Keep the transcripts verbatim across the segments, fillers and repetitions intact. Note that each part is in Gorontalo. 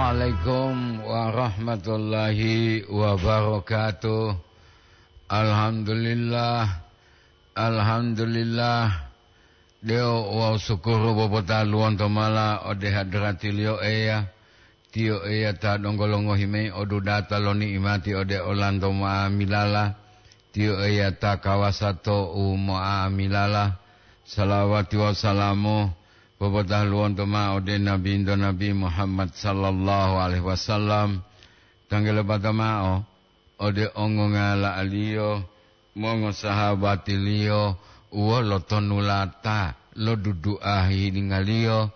Waalaikum warahmatullahi wabarakatuh. Alhamdulillah. Alhamdulillah. Deo wawu sukuru popotaluwonto mala ode hadratiliyo Eya. Tiyo Eya ta donggo longohi mayi odudata lo ni'imati ode olanto ma'amilala. Tiyo Eya ta kawasa to u mo'amilala. Salawati wawu salamu popotaluwonto ma'o ode Nabinto Nabi Muhammad sallallahu alaihi wasallam. Tanggalopata ma'o ode ongongala'aliyo, mongosahabatiliyo, wolo tonulata lo dudu'a hihiningaliyo,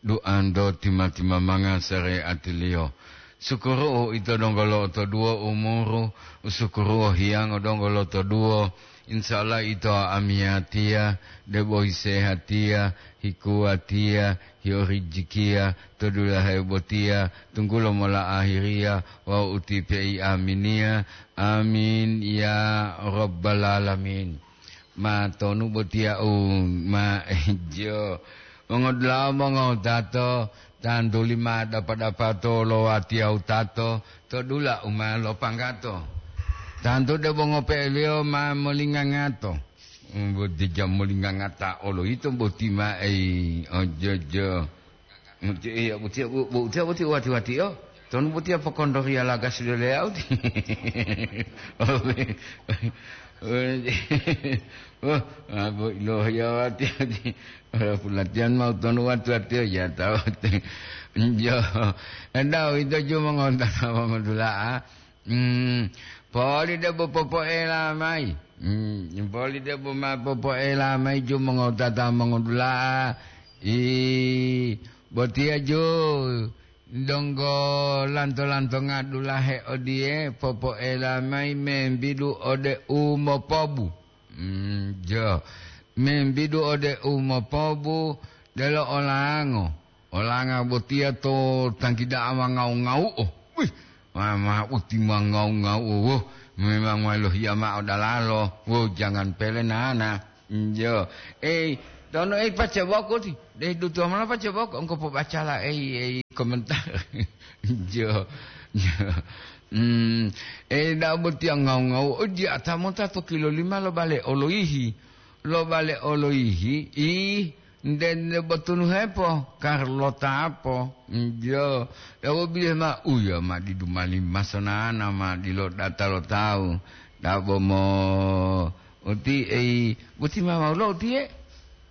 duanto tima-timamanga sareatiliyo. Sukuru'u ito donggo lo'otoduwo umuru, sukuru'u hiyango donggo lo'otoduwo, insya Allah ito amiyatiya, debo hisehatiya, hikuwatiya, hiorijikiya, to dulahe botiya, tunggulo mola ahiriya, wawu utipe'i aminiya. Amin, ya Rabbal Alamin. Ma tonu botiya u ma jo. Mongodula'a mongowutato, tantuli ma dapa-dapato lo watiya wutato, to dula u ma lopanggato. Tantu debo ngope'eliyo ma molingangato. Boti jamu lingangata olo yito boti ma ei, ojojo. Boti, iya, boti, bo-, boti, boti, wati-wati, oh. Tonu boti apa kondoriya laga sudah layout? Oh, ah, bo-, lohiya wati, wati. Ora pulatihan mau tonu wati-wati, oh, ya tahu. Jo. Enda, ito cuma ngontak sama Madula, ah. Hmm, poli debo popoela mayi. Hmm, poli debo ma popoela mayi ju mongotata mongodula'a. I, botiya ju donggo lanto-lantonga dulahe odiye popoela mayi membidu ode u mopobu. Hmm, jo. Membidu ode u mopobu delo olango. Olanga botiya to tanggi da'a ma ngau-ngau'o. Wih, ma, ma uti ma ngau-ngau'o. Woh, memang ma lohiya ma'o dalalo. Woh, jangan pele nana. Njo. Eh, tono eh paca boko ti. Deh dutuwa mala paca boko. Engko pobacala eh, eh komentar. Njo. Njo. Hmm, eh, da'a botiya ngau-ngau'o. Oh, dia ata mota to kilo lima lo bale oloihi. Lo bale oloihi. Ih, Nde, nde botunu hepo, karlotapo, njo, yawo bihe ma uya ma didu mali masonana ma dilo data lo tawu, dabo mo uti ei, boti ma wau lo utiye?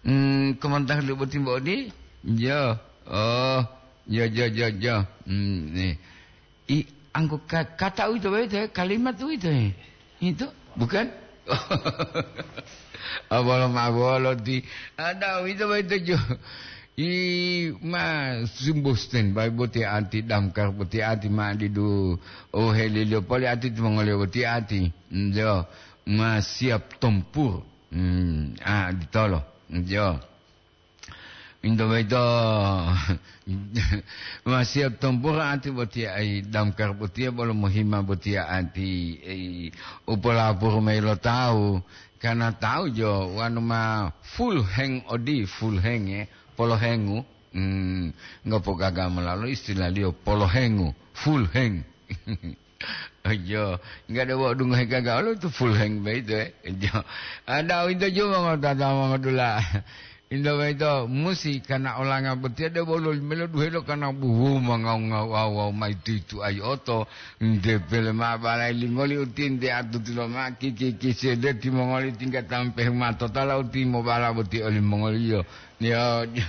Hmm, komantar li boti mbodi? Njo, oh, jo, jo, jo, jo. Hmm, nih. I, anggo ka-, kata uwito boyito, kalimat uwito, itu, bukan? Abolo ma bolo ti, ada uwito boyito jo. I, ma sumbu standby boti ati, damkar boti ati, ma didu, oh, helilio poli ati, timongoliyo boti ati. Njo, ma siap tempur. Hmm, ah, ditolo. Njo. Into boyito, ma siap tempur ati botiya, ai, damkar botiya bolo mohima botiya ati, ai, u polapuru mayi lo tawu, karna tawu jo wanu ma full hang odi, full hang, eh, polohengu, hmm, ngopo gaga molalo istilaliyo polohengu, full hang. Ojo, enggak ada wau dungohe gaga olo itu full hang boyito, eh. Ojo. Ada uwito ju mongotata mongodula. Into boyito musi kana olanga botiya debo loli melo duhelo kana buhu mangau-ngau wawu mayi tuitu ayi oto. Nte pele ma balai lingoli uti nte atuti lo ma kiki-kiki sede timongoli tingga tampehu ma totala uti mobala boti olimongoliyo. Yo, yo.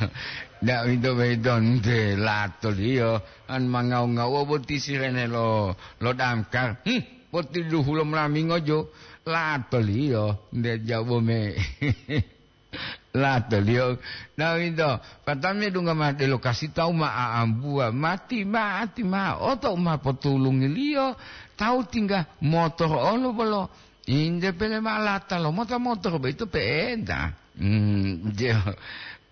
Ndak uwito boyito nte latoliyo. An mangau-ngauwo boti sirene lo, lo damkar. Hmm, boti duhu lo molamingo jo. Latoliyo, nde jabo me. Latoliyo. Nah, winto, patame dunga ma delo kasi tawu ma aambuwa. Mati ma, ati ma, oto u ma potulungiliyo. Tawu tingga motor olo bolo. Inde pele ma lata lo mota motor boyito pe'enta. Hmm, je.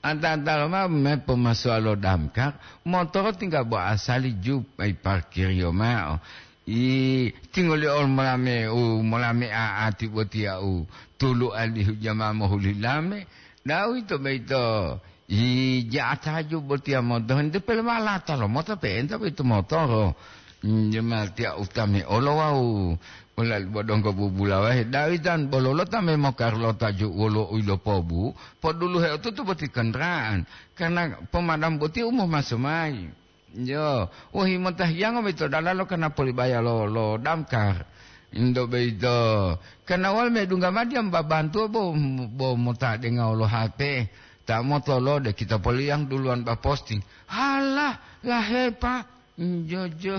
Anta-anta lomao me pomasuwa lo damkar, motoro tingga bo asali ju mayi parkiriyo ma'o. I, tingoli olo molame u molame a'ati botiya u tulu alihu jama mohuli lame, dawito boyito Ija ataju botiya moto, ente pele walata lo mota pe'enta boyito motoro. Jematiya utame olo wawu olali bodonggo bubulawahe, Dawidan bololo ta memokarlota ju wolo u yilopobu, poduluhe otutu boti kendaraan, karna pomadam boti u momaso mayi. Yo, wohi mota hiyango boyito dalalo kana polibaya lo, lo damkar. Indo boyito, kana wal medungga madiya babantuwa bo, bo mota denga wolo H P, ta motolode kita poliyang duluwan ba posting. Halah, lahepa, jojo,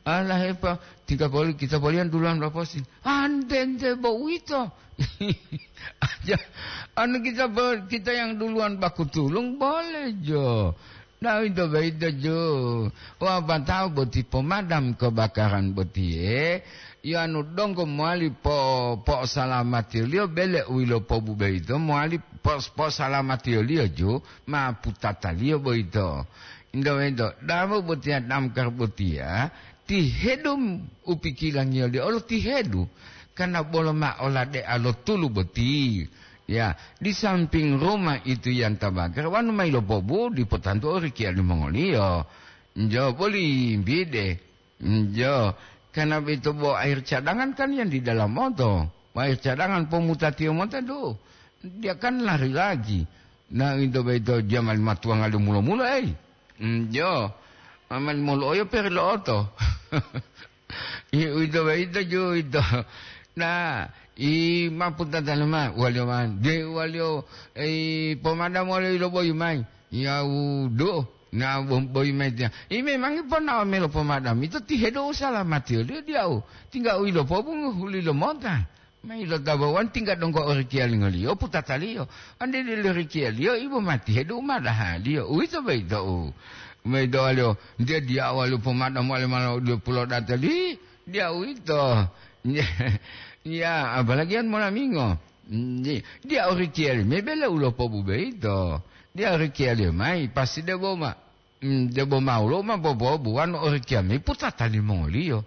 alahepa, tingga poli, kita poliyang duluwan ba posting. Antente bo uwito. Aja, anu kita bo, kita yang duluwan ba kutulung, boleh jo. Nah, itu beda jo. Wah, batau boti pemadam kebakaran boti, eh. Yanu donggo mowali po, po'osalamatiyo-Liyo bele u yilopobu boyito mowali pos-, po'osalamatiyo-Liyo ju ma putataliyo boyito. Indo wento, dabo botiya damkar botiya, tihedu u pikilangiyo-Liyo olo tihedu, karna bolo ma oladea lo tulu boti. Ya, di samping rumah itu yang terbakar, wanu ma yilopobu dipo tantu orikiya limongoliyo. Njo boli mbide. Njo, karena boyito bo air cadangan kan yang di dalam oto. Bo air cadangan pomutatiyo mota do. Dia kan lari lagi. Nah, itu boyito jaman matuwanga lo mulo-mulo, ei. Njo, aman mulo oyo peri lo oto. I, uwito boyito ju uwito. Nah, i maputata lema, waliyo ma, de waliyo, i pomadamu waliyo iloboyi mayi. Ya wudu, na bo-, boyi mayi tiya. I memangi ponawa melo pomadam, ito tihedu usalamatiyo, liyo diyawu. Tingga u ilopobungu huli lo mota. Mayi lo tabawan tingga donggo orikiyalingoliyo, putataliyo. Ande delo rikiyaliyo, ibo mati hedu madahaliyo. Uwito boyito u. Mayi dowaliyo, nte diyawu waliyo pomadam waliyo malo diyo pulo datali. Diyawu ito. Ya, apalagi an molamingo. Di-, diyawu rikiyali, mebele u lopobu boyito. Diyawu rikiyaliyo mayi, pasti debo ma-, Mm, debo ma woluwo ma bobobuwanu orikiyami putata limongoliyo.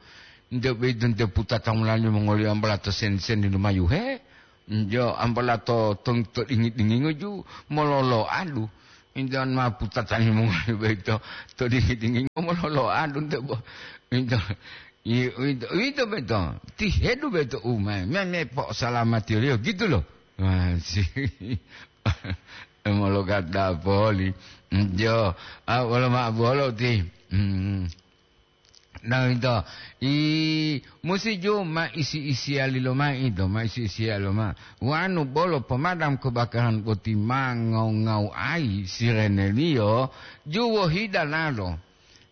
Nte boyito nte putata mula limongoliyo ambola to sen-, seni lumayuhe. Njo ambola to, to, to dingi-dingingo ju mololoadu. Njo ma putata limongoliyo boyito to dingi-dingingo mololoadu nte bo-, njo, i-, uwito, uwito boyito. Tihedu boyito umayi. Me, me po'osalamatiyo-Liyo, gitu lo. Masih. Mologata poli. Njo, ah, wolo ma'o bolo ti. Hmm. Nah, ito. I, musi ju ma isi-isiyali lomai ito, ma isi-isiyali lomai. Wanu bolo pemadam kebakaran boti ma ngau-ngau'ayi sireneliyo, ju wohida lalo.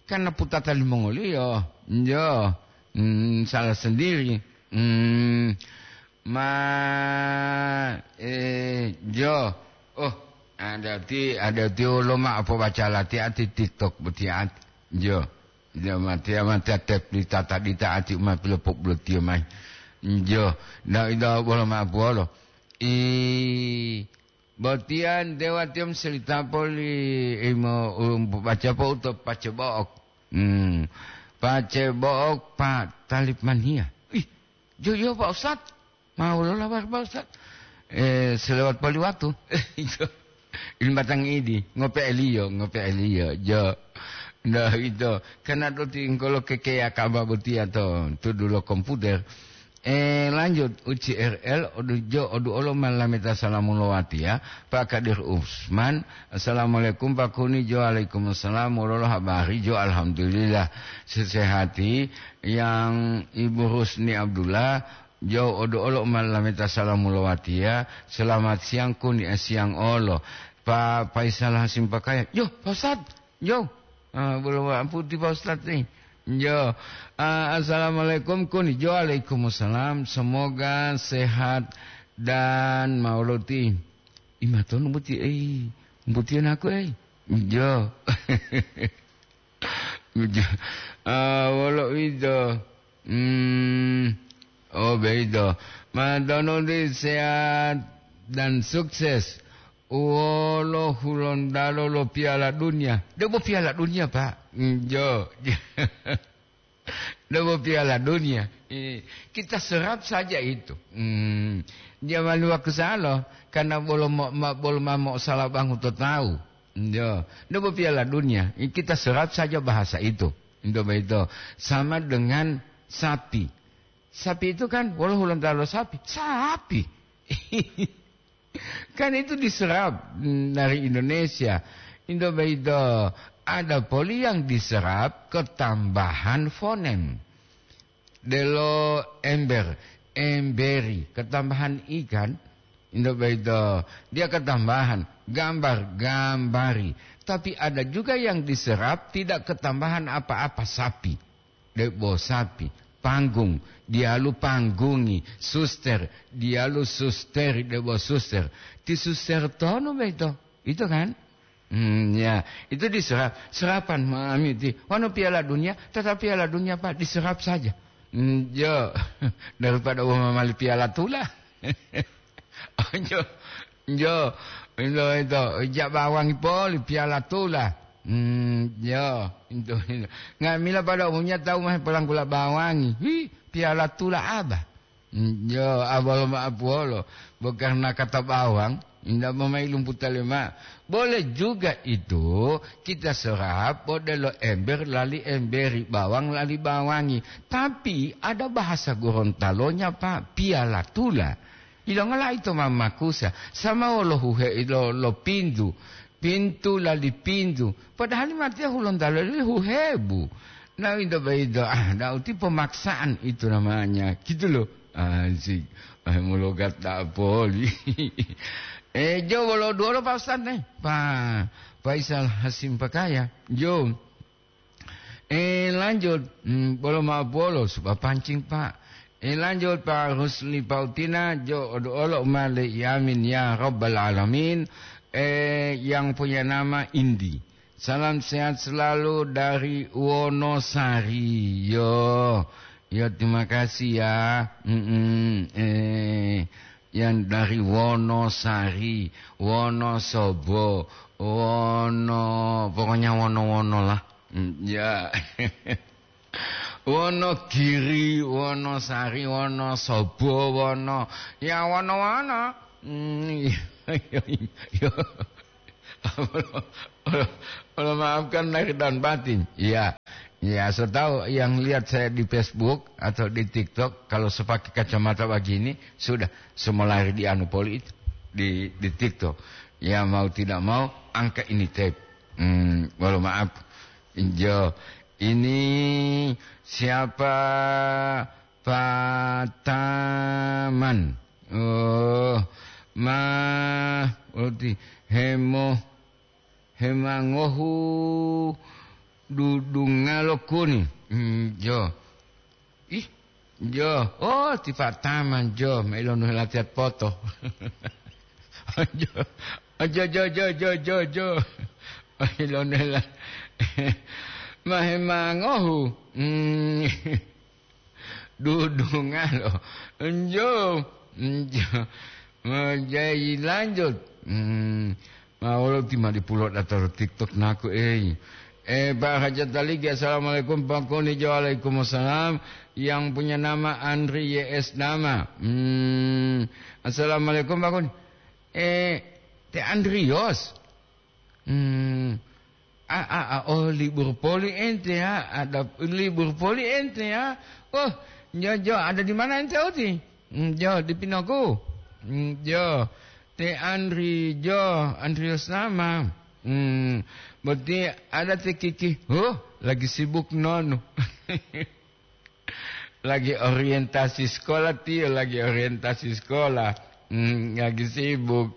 Karena putata limongoliyo, njo, mm, salah sendiri. Mm, ma, eh, njo. Oh, adati, adati wolo ma apo baca lati ati TikTok boti ati. Njo. Njo, mati, mati, tep di tata di ta ati uma pilopobulotiyo mai. Njo. Na ida bolo ma apo wolo. I, Botiya nte watiya moselita poli, imo, um, baca po uto pace bo'ok. Hmm. Pace bo'ok pa talip maniya. Ih, jo, jo, Pak Ustad. Ma wolo lawar, Pak Ustad. Eh, selewat poli watu. Ito. Ini batang idi, ngope'eliyo, ngope'eliyo. Jo. Nah, ito. Karena doti engkolo kekeya kaba botiya to, tudu lo komputer. Eh, lanjut, U C R L, odu jo, odu olo ma lameta salamu lo watiya, Pak Kadir Usman, "Assalamualaikum, Pak Kuni." Jo, "Waalaikumsalam, wolo lo habari?" Jo, "Alhamdulillah, sesehati." Yang Ibu Rusni Abdullah, jo, odu olo ma lameta salamu lo watiya, "Selamat siang, Kuni, eh, siang olo." Pak Faisal Hasim Pakaya, "Yo, Pak Ustad." Yo. Ah, bolo wa'aputi, Pak Ustad, nih. Yo. Ah, assalamualaikum, Kuni. Jo, waalaikumsalam. Semoga sehat dan mauloti. Imatonu buti, eh. Buti anakku, eh. Jo. Jo. Ah, wolo ito. Hmm. Oh, beito. Matono di sehat dan sukses. Wolo Hulontalo lo Piala Dunia. Debo Piala Dunia, Pak. Njo. Debo Piala Dunia. Eh, kita serap saja itu. Hmm. Dia malu aku salo, karena bolo mo-, ma-, bolo mamo salabangu to tahu. Yo, ndak Piala Dunia, kita serap saja bahasa itu. Ndak begitu. Sama dengan sapi. Sapi itu kan, wolo Hulontalo sapi? Sapi. Kan itu diserap, mm, dari Indonesia. Ndak begitu. Ada poli yang diserap ketambahan fonem. Delo ember, emberi, ketambahan ikan, ndak begitu. Dia ketambahan gambar, gambari. Tapi ada juga yang diserap tidak ketambahan apa-apa, sapi. Debo sapi, panggung, dialu panggungi, suster, dialu susteri, debo suster. Ti suster tonu begitu. Itu kan? Hmm, ya, itu diserap, serapan mami ti. Wano Piala Dunia, tetap Piala Dunia, Pak, diserap saja. Hmm, yo, daripada wong mali piala tula. Ojo, jo, itu, itu, jak bawangi poli piala tula. Hmm, yo, itu, itu. Ngamila pada umumnya tahu mah pelanggula bawangi. Hi, piala tula apa? Njo, abolo ma'apuwolo, bo karna kata bawang, ndak momai lumputa lema. Boleh juga itu kita serap, bo delo ember lali emberi, bawang lali bawangi. Tapi ada bahasa Gorontalonya, Pak, piala tula. Ilongola ito mamakusa, sama wolo huhe lo, lo pintu. Pintu lali pintu. Padahal matiya Hulontalo lali huhebu. Nah, itu begitu. Ah, dah uti pemaksaan itu namanya. Gitu loh. Asik. Ah, mau logat tak poli. Eh, jo, bolo dua lo, Pak Ustaz, nih. Pak Faisal Hasim Pakaya. Jo. Eh, lanjut. Hmm, bolo ma bolo, supa pancing, Pak. Eh, lanjut, Pak Rusli Pautina. Jo, odo olo umale. Yamin, ya Rabbal Alamin. Eh, yang punya nama Indi. Salam sehat selalu dari Wonosari. Yo, yo, terima kasih ya. Mm-mm. Eh, yang dari Wonosari, Wonosobo, Wono, pokoknya Wono-Wono lah. Mm, ya. Wonogiri, Wonosari, Wonosobo, Wono, ya, Wono-Wono. Mm, iya, iya, iya. Allah, Allah, Allah maafkan lahir dan batin. Iya. Ya, saya tahu yang lihat saya di Facebook atau di TikTok, kalau saya pakai kacamata begini, sudah, semua lahir di anu poli itu, di, di TikTok. Ya, mau tidak mau, angka ini tape. Hmm, walau maaf. Jo, ini siapa? Pataman. Oh, ma, berarti hemo, hemangohu dudungalo kuni. Hmm, jo. Ih, jo. Oh, ti Pataman, jo. Mailonu helatiat poto. Jo. Jo, jo, jo, jo, jo, jo. Mailonu hela-, mahemangohu. Hmm. Dudungalo. Njo, njo. Menjadi lanjut. Hmm. Ma wolo ti ma dipulo dataro TikTok naku, ei. Eh, Pak Hajat Taligi, assalamualaikum, Pak Kuni. Jo, waalaikumsalam. Yang punya nama Andri Y S Nama. Hmm. Assalamualaikum, Pak Kuni. Eh, te Andrios. Hmm. Ah, ah, ah, oh, libur poli ente ya, ada libur poli ente ya. Oh, jo, jo, ada di mana ente oti? Hmm, jo, di Pinoku. Hmm, jo, te Andri, jo, Andrius Nama. Hmm, berarti ada te Kiki. Huh, lagi sibuk nonu. Lagi orientasi sekolah, tiyo lagi orientasi sekolah. Hmm, lagi sibuk.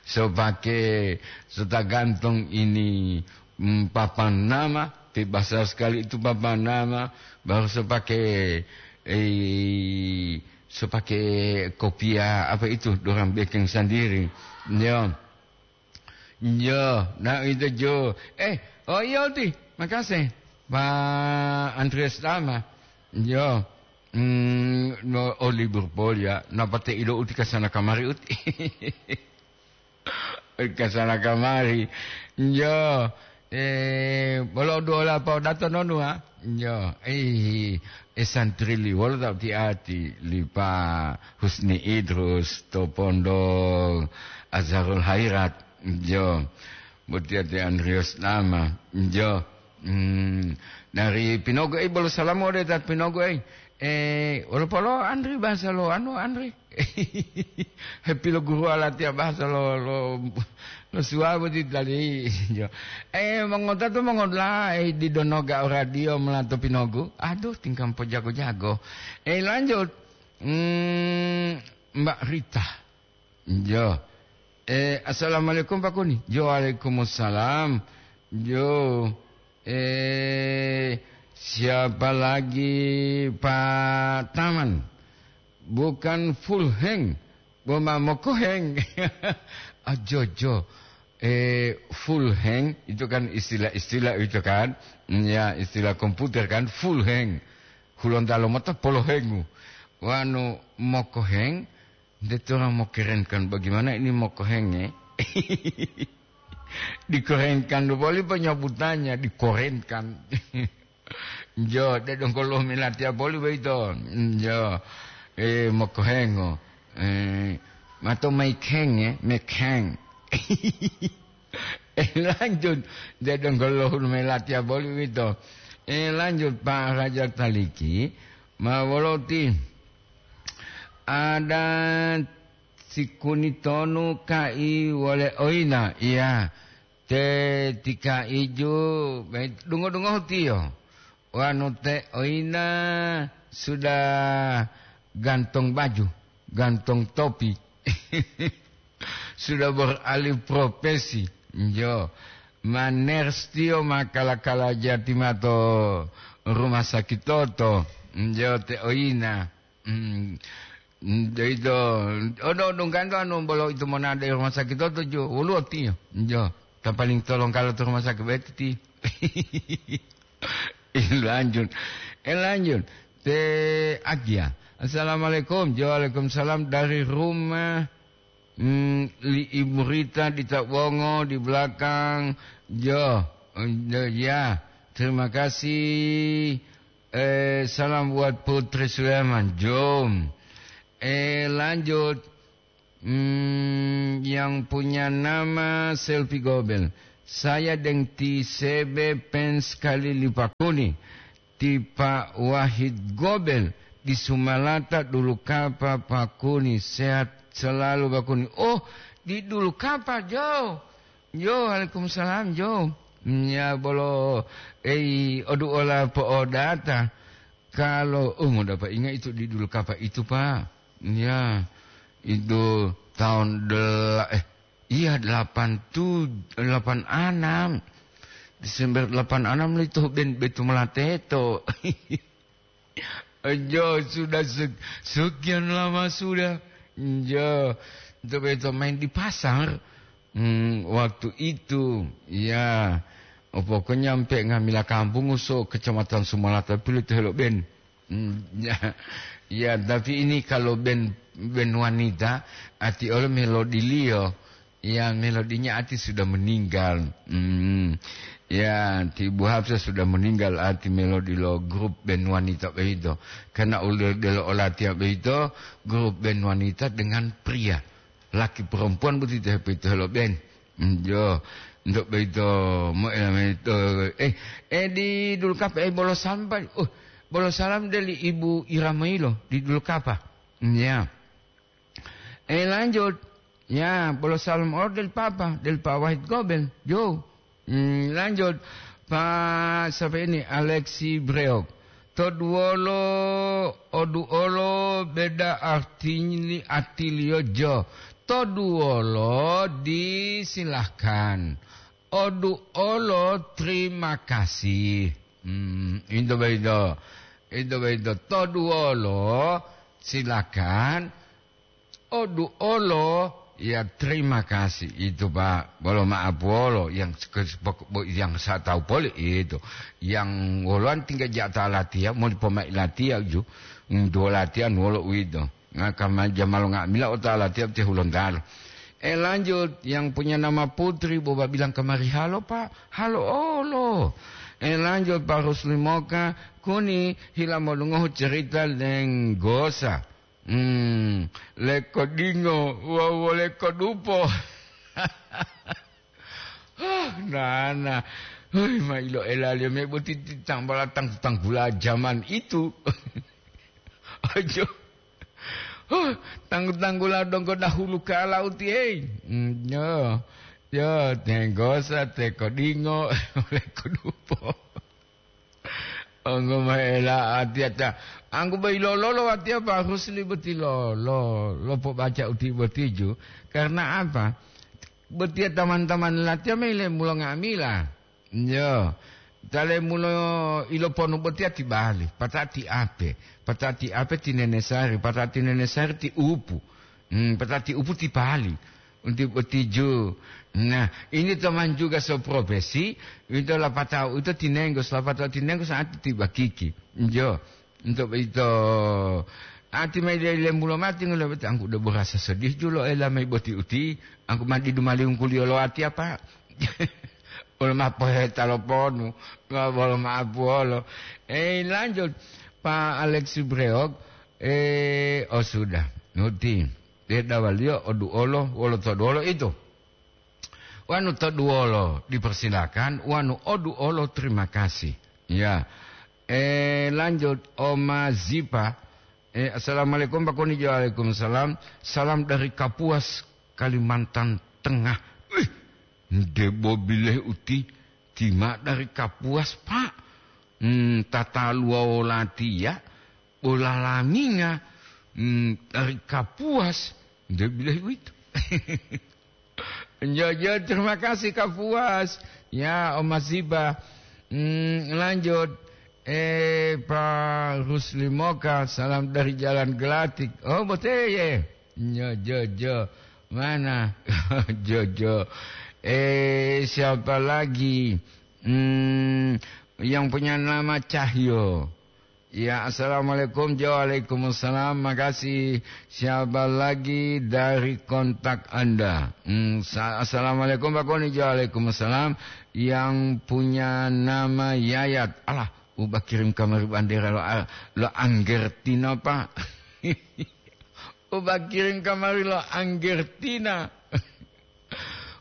So pake, so tagantung ini, hmm, papan nama, ti basar sekali itu papan nama, baru so pake, eh, so pake kopia apa itu, dorang bikin sendiri. Ya. Yo, na ito jo. Eh, oh iya uti, makasih. Pak Andreas Tama. Yo, mm, no, oh, libur poli ya. Napa te ilo uti kasana kamari uti? Kasana kamari. Yo, eh, bolo dua la pa dato nonu ha? Yo, eh, eh, santri li, wolo tau ti ati, li Pa Husni Idrus, to pondok Azharul Hairat. Yo. Botiya te Andreas Nama. Jo. Hmm. Dari Pinogo, eh, bolo salamu ode ta Pinogo, eh. Eh, wolo polo Andri bahasa lo anu, Andri. Hepi lo guru alatiya bahasa lo, lo, lo suwabo ti tali. Jo. Eh, mongota to mongola, eh, di donoga o radio melato Pinogo. Aduh, tingkam po jago-jago. Eh, lanjut. Hmm, Mbak Rita. Jo. Eh, assalamualaikum Pak Kuni. Jo, waalaikumsalam. Jo. Eh, siapa lagi Pak Taman? Bukan full hang, boma mokoheng. Ah, jo, jo. Eh, full hang itu kan istilah-istilah itu kan. Ya, istilah komputer kan, full hang. Hulontalo mota polohengu. Wanu mokoheng, Nde orang mau kerenkan, bagaimana ini mau kohenge? Dikorenkan boli penyebutannya, dikorenkan. Jo, de dongkolo milatiya boli boyito. Jo, eh, mau kohengo. Eh, mato mai kenge, mekeng. Eh, lanjut. De dongkolo milatiya boli boyito. Eh, lanjut, Pak Raja Taliki. Ma woloti. Ada sikuni tonu kai wole oina, iya, te tika iju, dungo-dungohu tiyo. Wanu te oina sudah gantong baju, gantong topi. Sudah beralih profesi. Jo, maners tiyo ma kala-kala jati mato rumah sakit toto. Jo, te oina. Hmm. Hmm, deito, odo dongganto anu bolo itu monade rumah sakit to tuju, woluwo tiyo. Jo, ta paling tolong kalau to rumah sakit beti ti. Eh, lanjut. Eh, lanjut. Te Agia. Assalamualaikum. Jo, waalaikumsalam dari rumah. Hmm, li Ibu Rita di Tabongo di belakang. Jo, eh, ya. Terima kasih. Eh, salam buat Putri Sulaiman. Jom. Eh, lanjut. Hmm, yang punya nama Selfie Gobel. Saya deng ti sebe pen sekali lipakuni. Ti Pak Wahid Gobel di Sumalata dulu kapa pakuni. Sehat selalu pakuni. Oh, di dulu kapa, Jo. Jo, waalaikumsalam, Jo. Nya bolo, ei, odu ola po'odata. Kalau, oh, mau dapat ingat itu di dulu kapa itu, Pak. Ya, itu tahun del-, eh, iya, delapan tujuh, delapan enam. Desember delapan enam itu ben betu melateto. Jo, sudah se-, sekian lama sudah. Jo, itu beto main di pasar. Hmm, waktu itu, ya, pokoknya sampai ngamila kampung uso Kecamatan Sumalata pilu to helo ben. Hmm, ya, ya, tapi ini kalau ben, ben wanita, ati olo melodiliyo, ya, melodinya ati sudah meninggal. Hmm, ya, ti Bu Hafsah sudah meninggal, ati melodi lo grup ben wanita beito. Karena ulil delo olatiya beito, grup ben wanita dengan pria. Laki perempuan boti to hepito helo ben. Jo, untuk beito, mo ela beito. Eh, eh, di dulu kapa, eh, bolo salam, Pak. Oh, bolo salam dari Ibu Iramoilo di dulu kapa. Ya. Eh, lanjut. Ya, bolo salam oro dari Papa, dari Pak Wahid Gobel. Jo. Hmm, lanjut. Pak, siapa ini? Alexi Breok. Toduwolo, oduolo, beda artini atiliyo jo. Toduwolo, disilahkan. Oduolo, terima kasih. Hmm, itu begitu. Itu begitu. Toduolo, silakan. Oduolo, ya, terima kasih itu, Pak. Bolo maaf wolo yang seke-, yang saya tahu poli itu. Yang woloan tinggal jata latihan, mau dipomai latihan ju. Hmm, dua latihan wolo uwito. Ngaka ma-, jamalo nga'amila ota latihan te hulontalo. Eh, lanjut, yang punya nama Putri, boba bilang kemari, "Halo, Pak." "Halo, olo." Eh, lanjut, Pak Rusli Moka, kuni hila modungohu cerita lenggosa. Hmm, leko dingo, wawu leko dupo. Hah, nana. Hoi, ma iloelaliyo me boti ti tambala tanggu-tanggula jaman itu. Ojo. Huh, tanggu-tanggula donggo dahulu kala uti, hei. Mm, yo. Yo, tenggosa, tekodingo, lekodupo. Onggo maela atiata. Anggu bai lololo watiya Pak Rusli boti lolo, lopobaca uti botiju. Karena apa? Botiya taman-taman latiya mayi lemulo nga'amila. Yo. Tale mulo iloponu botiya ti bali, pata'ati ape, pata'ati ape ti nenesari, pata'ati nenesari ti upu. Hmm, pata'ati upu ti pali. Unti botiju. Nah, ini teman juga seprofesi, itu lapatau itu tinenggo, lapatau tinenggo saat ti bakiki. Yo. Untuk itu, ati mai dari lembulo mati ngolo bete, angku udah berasa sedih julo ela mai boti uti, angku mandi dumali ungkuliyo lo ati apa? Wolo mapohe taloponu, wolo maapuolo. Eh, lanjut, Pak Alex Breok, eh, oh sudah, nuti, dia dawaliyo oduolo, wolo toduolo itu. Wanu toduolo, dipersilakan. Wanu oduolo, terima kasih. Ya. Eh, lanjut, Oma Zipa. Eh, assalamualaikum, Pak Koni. Waalaikumsalam. Salam dari Kapuas, Kalimantan Tengah. Wih, ndebo bileh uti, tima dari Kapuas, Pak. Hmm, tataluwa wolatiya, bolalaminga, hmm, dari Kapuas. Nde bileh uwito. Jojo, terima kasih, Kak Puas. Ya, Om Masiba. Hmm, lanjut. Eh, Pak Rusli Moka, salam dari Jalan Gelatik. Oh, boteye. Nyo, Jojo. Mana? Jojo. Eh, siapa lagi? Hmm, yang punya nama Cahyo. Ya, assalamualaikum. Jo, waalaikumsalam. Makasih. Siapa lagi dari kontak Anda? Hmm, sa-, assalamualaikum, Pak Koni. Jo, waalaikumsalam. Yang punya nama Yayat. Alah, uba kirim kamari bandera lo, lo Anggertina, Pak. Uba kirim kamari lo Anggertina.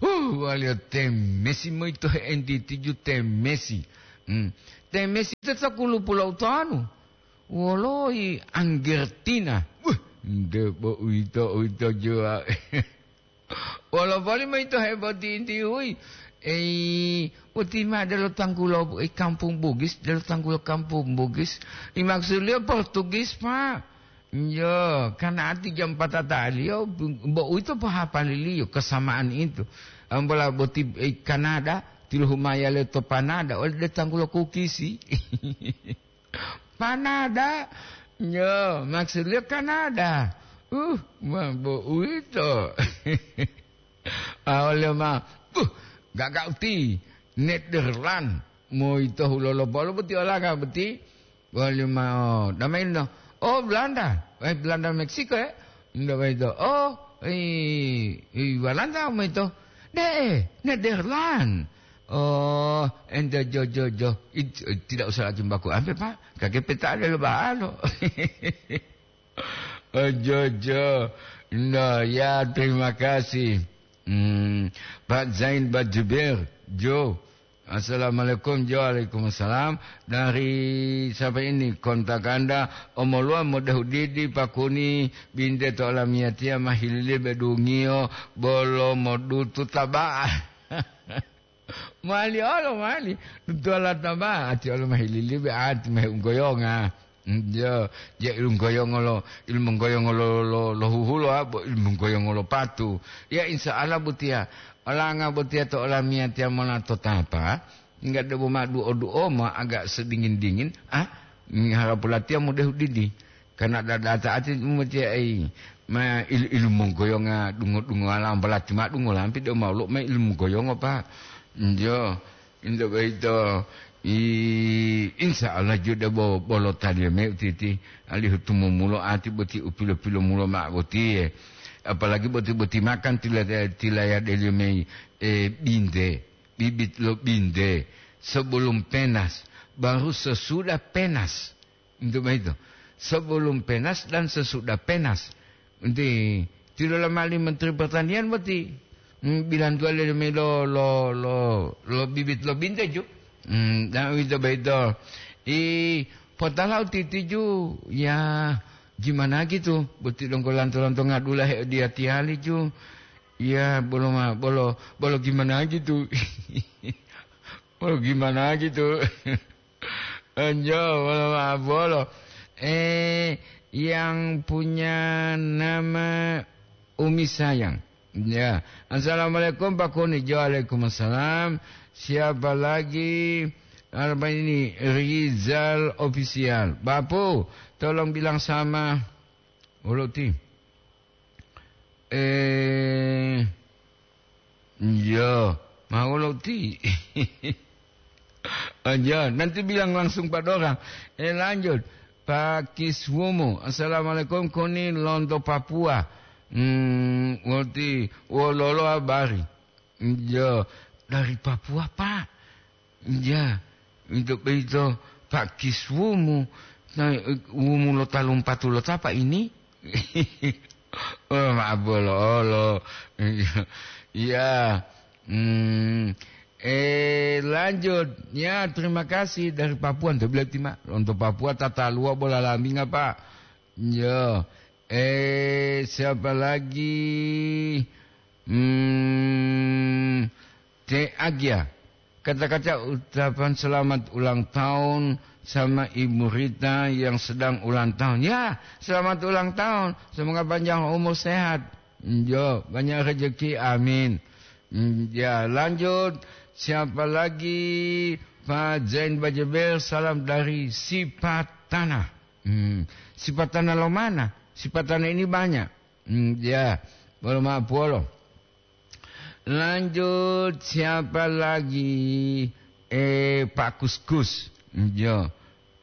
Uh, waliyo temesi moyito he'entitiju temesi. Hmm. Temesi to sakulupu lo utanu. Woloyi Anggertina. Wuh, nde bo uwito, uwito juwa. Wolo boli moyito heboti inti huyi. Ei, boti ma delo tanggulo, ei, kampung Bugis, delo tanggulo kampung Bugis. I maksuliyo Portugis, Pak. Yo, karena ati jam patataliyo, bo uwito pohapaliliyo, kesamaan itu. Ambola boti, eh, Kanada, tilohumaya le to Panada, ole de tanggulo kukisi. Panada, yo, maksudnya Kanada. Uh, ma bo uwito. Ah, ole ma, uh, gaga uti, Netherland, moyito hulolo bolo boti olanga boti. Wali mao, damaino. Oh, Belanda. Eh, Belanda Meksiko, eh? Nda baito. Oh, i, i Walanda maito. De, Netherland. Oh, ente jo, jo, jo. It-, tidak usah lagi baku ampe, Pak. Kake peta ada lo baalo. Oh, jo, jo. No, ya, terima kasih. Hmm, Pak Zain, Pak Jubair, Jo. Assalamualaikum, Jo. Waalaikumsalam. Dari siapa ini? Kontak Anda, omoluwa modehu didi pakuni binte to olamiyatiya mahililibe dungiyo bolo modutu taba'a. Mali olo, mali. Dutuwala taba'a, ati olo mahililibe, ati mahe unggoyonga. Mm, yo, je ilunggoyongo lo, ilmunggoyongo lo, lo, lo huhulo, abo ilmunggoyongo lo patu. Ya, insya Allah, botiya. Olanga botiya to olamiyatiya mona to tapa, enggak debo ma duo-duo ma agak sedingin-dingin, ah, mm, harapu latiya mudehu didi. Karena dada taati umatiya ai, ma il-, ilmunggoyonga dungo-dungo alam balati ma dungo lampi de ma lo ma ilmunggoyongo, Pak. Njo. Into boyito, i-, insya Allah jude bo-, bolo taliyo me utiti, alihu tumumulo ati boti u pilo-pilomulo ma'o botiye. Apalagi boti-boti makan tila-, tilayadeliyo me, eh, binte, bibit lo binte, sebelum penas, baru sesudah penas. Into boyito, sebelum penas dan sesudah penas. Enti tilola mali Menteri Pertanian boti, Hmm, bilantuwa lele mayi lo, lo, lo, lo bibit lo binte ju. Hmm, dan uwito boyito. I, potala u titiju, ya, gimana gitu? Boti donggo lanto-lanto ngadula he'odiyatiyali ju. Ya, bolo ma-, bolo, bolo gimana gitu? Bolo gimana gitu? Enjo, bolo ma-, bolo. Eh, yang punya nama Umi Sayang. Ya. Assalamualaikum, Pak Kuni. Jo, waalaikumsalam. Siapa lagi? Apa ini? Rizal Official. Bapu, tolong bilang sama Uluti. Eh, iya, mau Uluti. Aja, nanti bilang langsung pada orang. Eh, lanjut. Pak Kiswumu, "Assalamualaikum, koni lonto Papua." Hmm, ngerti, wololo habari? Iya, dari Papua, Pak. Iya, itu, itu, Pak Kiswumu. Nah, wumu lo talumpatu lo tapa ini? Oh, maaf, bolo-olo. Iya. Hmm. Eh, lanjut. Ya, terima kasih dari Papua. Untuk berarti, Mak. Untuk Papua, tata luar bola lambinga, Pak. Ya. Eh, siapa lagi? Hmm, Te Agia. Kata-kata ucapan selamat ulang tahun sama Ibu Rita yang sedang ulang tahun. Ya, selamat ulang tahun. Semoga panjang umur sehat. Yo, banyak rezeki. Amin. Hmm, ya, lanjut. Siapa lagi? Pak Zain Bajeber, salam dari Sipatana. Hmm, Sipatana lo mana? Sipatana ini banyak. Hmm, ya, bolo maaf, bolo. Lanjut, siapa lagi? Eh, Pak Kuskus. Yo.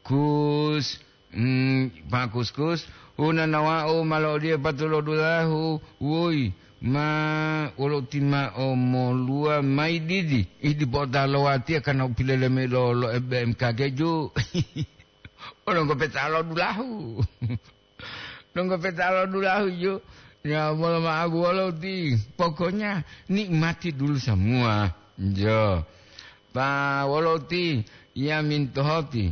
Kus, mm, Pak Kuskus, hunanawa'u ma lo'odiye patulodulahu, woi, ma wolo tima'o moluwa mayi didi, idi po'ota lo watiya kana u pileleme lo, lo B M K G ju. Wolo ngopeta lo dulahu. Donggo petalo dulahu ju. Ya, bolo ma'abu wolo ti. Pokoknya nikmati dulu semua. Jo. Pa wolo ti, ya mintohoti.